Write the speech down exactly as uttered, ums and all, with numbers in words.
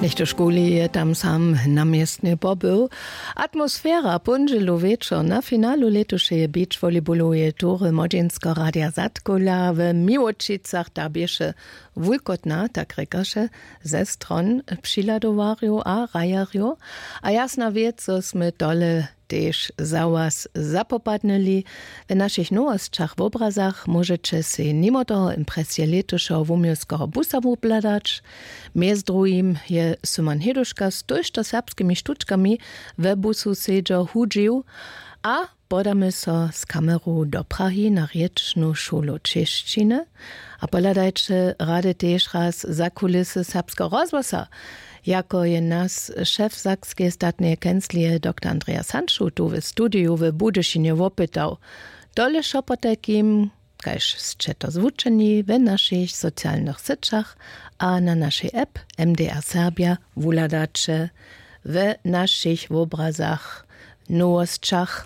Něchtožkuli je tam sam na městnje pobył. Atmosfera póndźelu wječor na finalu lětušeje beach volleyballoweje tury młodźinskeho radija zadkola w miłočicach ta běše wulkotna, tak rěkaše, ze stron přihladowarjow a hrajerjow. A jasna wěc zo smy tole tež za was zapopadnyli. W našich nowosćach w obrazach móžeće sej nimo toho impresije lětušeho wuměłskeho busa wobhladać. Mjez druhim je syman heduška z tójšto serbskimi štučkami we busu sedźo hudźił. A podamy so z kameru do prahi na rěčnu šulu češćiny. A pohladajće rady tež raz za kulisy serbskeho rozhłosa, jako je nas šef sakskeje statneje kenclije doktor andreas hanšu tu w studiju w budyšinje wopytał. Tole wšo potajkim, kaž sće to zwučeni w našich socialnych syćach a na našej app. Mdr serbja wuhladaće w našich wobrazach, nowosćach.